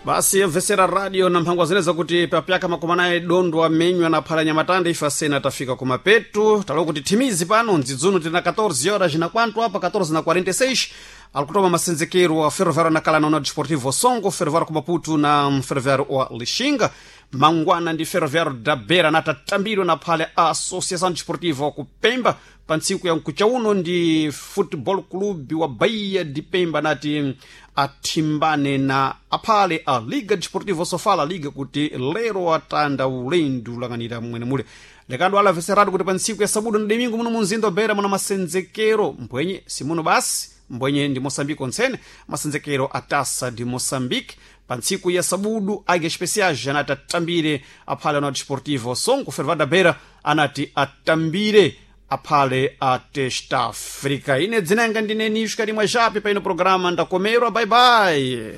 Basi yamvesera radio na mphangwa zeneza kuti papyaka makumi anayi dondo amenywa na phala nyamatanda ife asena tafika kumapetu. Talowa kuti thimizi pano mdzidzuno tili na 14 horas na kwantu apa 14 na 46 alikutoma masenzekero wa Ferroviário nakala na Desportivo Songo, Ferroviário ku Maputo na Ferroviário wa Lixinga. Mangwana ndi Ferroviário da Beira natatambidwa na phale a Associação Desportiva ku Pemba. Pa ntsiku ya mkucha uno ndi Football Club wa Bahia de Pemba nati athimbane na aphale a Liga Desportiva Sofala, liga kuti lero atanda ulendo ulang'anira mwene mule. Lekando alaveserado kuti pa ntsiku ya sabudu na domingo muno munzinda wa Beira muna masenzekero mbwenye simuno basi mbwenye ndi Moçambique ontsene masenzekero a Taça de Moçambique. Pa ntsiku ya sabudu Águia Especiais anati atambire aphale ana Desportivo Songo, Ferroviário da Beira anati atambire aphale a Testa África. Ine dzinanga ndine Nishka limwe japi pa ino programa ndakomerwa. Bye bye.